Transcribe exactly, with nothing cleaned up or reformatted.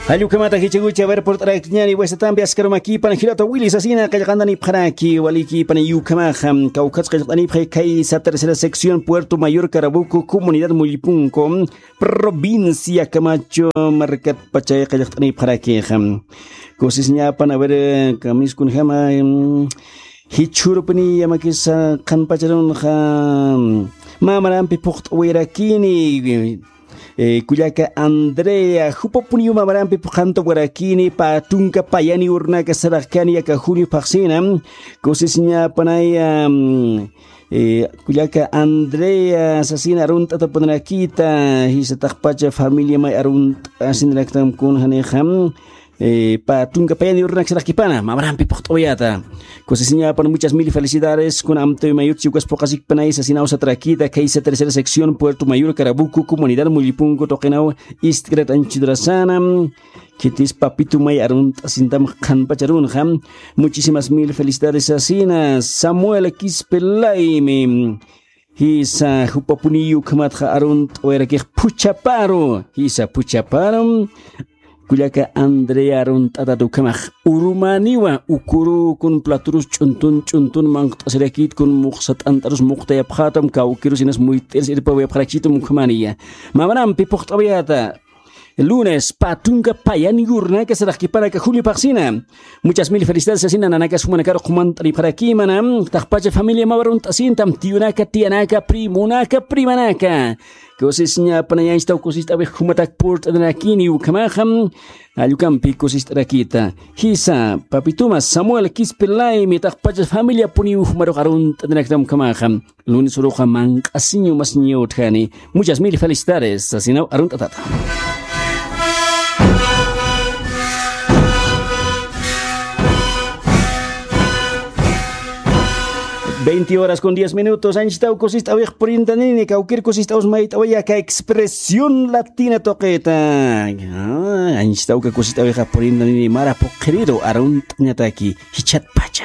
Jall ukhamata jichhakuchi, a ver, purt'arakñäni, buenas tardes, askarumakipan, jilata Willy sasina, qillqantanipxaraki, walikipan, ukhamaxa, kawkhatsa qillqanipxi, kaysa tercera sección, Puerto Mayor, Carabuco, comunidad Mullipunco, provincia Camacho, markatpachay qillqanipxarakixa. Kusisiñapan, a ver, eh, kamiskunjama, em, jichhurupini yamakisa qhanpacharunxa, mamarampi phuqt'awirakini, eh, kullaka Andrea, jupapuniw mamarampi phuqantawarakini, pä tunka payani urunaka saraxkani aka junio phaxsina, kusisiñapanaya, mm, eh, kullaka Andrea, sasina arunt'atapunarakita, jisa taqpacha familia may arunt'asinaraktam kunjanixa, eh, pä tunka payani urunaka saraxkipana, mamarampi phuqt'awayata. Kusisiñapan, muchas mil felicidades, kuna amtawi mayut chiwkas phuqasikpanay, sasinaw satarakita, kaysa tercera sección, Puerto Mayor, Carabuco, comunidad Mullipunco, tuqinaw, ist'krat anchhidurasana, khitis papitu may arunt'asintam qhanpacharunxa, muchísimas mil felicidades, sasina, Samuel Quispe Laimi, jisa, jupapuniyu ukhamatxa arunt'awayarakix phuchhaparu, jisa, phuchhaparu, kullaka Andrea arunt'atat ukhamax, urumaniwa, ukurukun platurus ch'untun, ch'untun manqt'asirakit, kun muxsa t'ant'arus muqtayapxatam, kawkirus inas muyt'iris irpawayapxarakitum ukhamaniya. Mamarampi phuqt'awayata. Lunes, pä tunka payani urunaka saraxkipana aka julio phaxsina. Muchas mil felicidades, sasina, nanakas jumanakaru qumant'aripxarakimana. Taqpacha familia mä arunt'asintam, tiyunaka, tiyanaka, primonaka, primanaka. Kusisiñapanay, anchhitaw kusist'awix jumatak purt'anirakini ukhamaxa, jall ukampi kusist'arakita. Jisa, papituma, Samuel Quispe Laimi, taqpacha familiapuniw jumarux arunt'aniraktam ukhamaxa. Lunes uruxa manq'asiñu masiñaw utjani. Muchas mil felicidades, sasinaw arunt'atata. Veinte horas con diez minutos, anchhitaw kusist'awix purintanini, kawkir kusist'aws mayt'awaya aka Expresión Latina tuqita. Ah, anchhitaw ka kusist'awixa purintanini, mara phuqhiriru arunt'añataki, jichhatpacha.